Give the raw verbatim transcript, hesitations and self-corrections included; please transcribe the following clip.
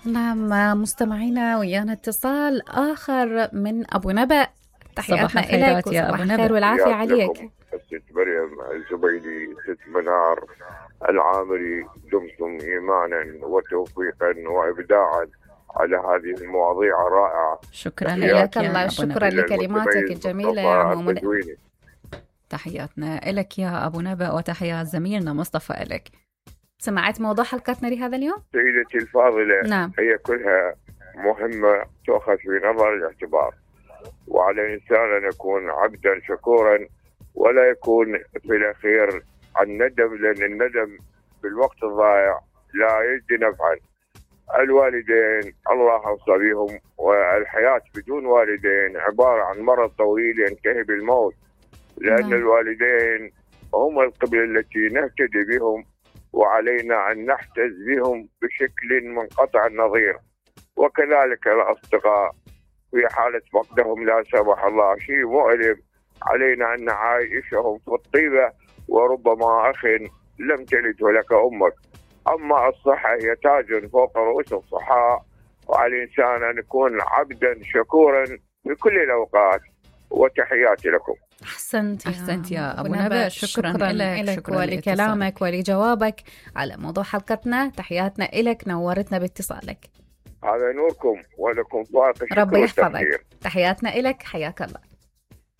نعم مستمعينا، ويانا اتصال آخر من أبو نبأ. تحياتنا إليك يا أبو نبأ. الخير والعافية عليك. ست مريم الزبيدي، ست منار العامري، دمتم إيمانا وتوفيقا وإبداعا على هذه المواضيع الرائعة. شكرا حياك لك الله، شكرا لكلماتك الجميلة يا عمو. تحياتنا لك يا أبو نبأ وتحيات زميلنا مصطفى لك. سمعت موضوع حلقتنا لهذا اليوم؟ سيدتي الفاضلة، نعم. هي كلها مهمة تؤخذ في نظر الاعتبار، وعلى الإنسان أن يكون عبدا شكورا ولا يكون في الأخير عن ندم، لأن الندم بالوقت الضائع لا يجدي نفعا. الوالدين الله أوصى بهم، والحياة بدون والدين عبارة عن مرض طويل ينتهي بالموت، لأن نعم. الوالدين هم القبلة التي نهتدي بهم، وعلينا أن نحتز بهم بشكل منقطع النظير. وكذلك الأصدقاء في حالة فقدهم لا سمح الله شيء مؤلم، علينا أن نعايشهم في الطيبة. وربما أخ لم تلده لك أمك. أما الصحة هي تاج فوق رؤوس الصحاء، وعلى الإنسان أن يكون عبدا شكورا في كل الأوقات. وتحياتي لكم. أحسنت أحسنت يا أبو نبأ. شكرا, شكرا لك, لك ولكلامك ولجوابك على موضوع حلقتنا. تحياتنا إلك، نورتنا باتصالك. هذا نوركم ولكم فائق الشكر ربي يحفظك. والتقدير. تحياتنا إلك، حياك الله.